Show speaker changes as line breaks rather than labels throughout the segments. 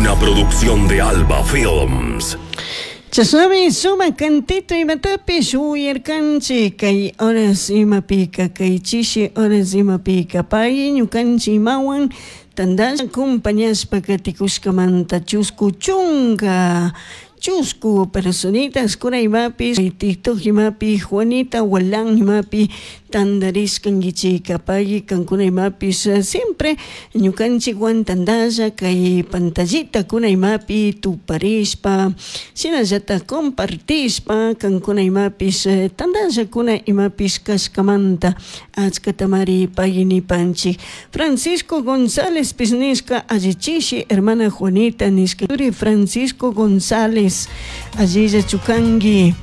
Una producción de Alba Films.
Chashnami sumak cantito imatapish uyarkanchik kay horas imapika kay chishi horas imapika pay ñukanchik imawan tandalla acompañashpa katikushkamanta chusku chunka chusku personitas kuna imapish TikTok imapi Juanita Walán imapi tandarishkankichika pay kankuna imapish siempre ñukanchikwan tandalla kay pantallita kuna imapi tuparishpa shinallatak compartishpa kankuna imapish tandallakuna imapish kashkamanta achkatamari pay nipanchik. Francisco González pish nishka allichishi hermana Juanita nishka turi Francisco González allilla chukanki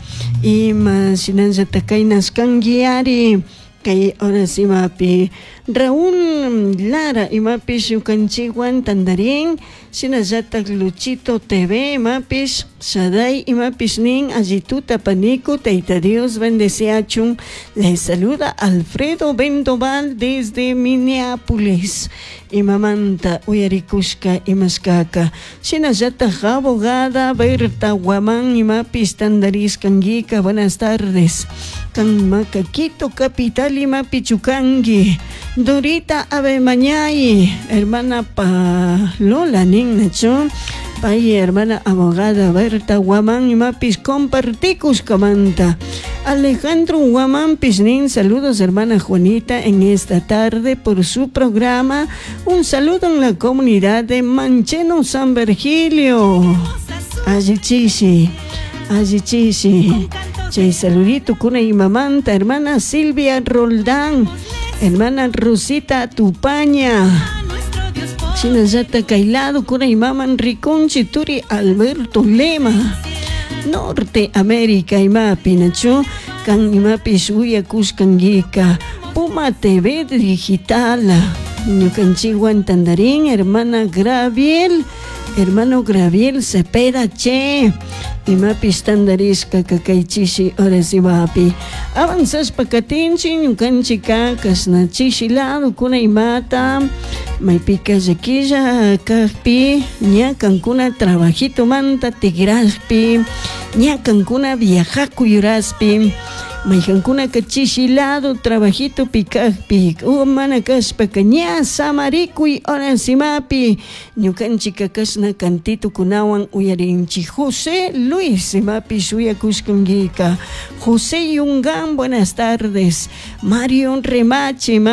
ima shinallatak kaynashkanki ari kay horas imapi Raúl Lara imapish ñukanchikwan tandarin shinallatak Luchito TV imapish Shaday imapish nin allituta paniku Tayta Dios bendeciachun les saluda Alfredo Vendoval desde Minneapolis imamanta uyarikushka imashkaka shinallatak abogada Berta Guamán imapish tandarishkankika buenas tardes kan imaka Quito capital imapi chukanki Dorita Abemañay hermana Palola nin nachu pay hermana abogada Berta Guamán imapish compartikushkamanta Alejandro Guamán nin saludos hermana Juanita en esta tarde por su programa un saludo en la comunidad de Mancheno San Virgilio allichishi allichishi chay saludito kuna imamanta hermana Silvia Roldán hermana Rosita Tupaña shinallata kay lado kuna imaman rikunchi turi Alberto Lema Norte América imapi nachu kan imapish uyakushkankika Puma TV Digital ñukanchikwan tandarin hermana Graviel hermano Graviel Cepeda che imapish tandarishka kay chishi horas imapi avanzashpa katinchik ñukanchika kashna chishi lado kuna imata maypika llakilla kakpi ña kankuna trabajitomanta tigrashpi ña kankuna viajakuyuraspi maykankunaka chishi lado trabajitopi kakpi o mana kashpaka ña samarikuy horas imapi ñukanchika kashna cantitukunawan uyarinchik José Luis imapi shuyakushkankika José Yungán buenas tardes Mario Remache imapi.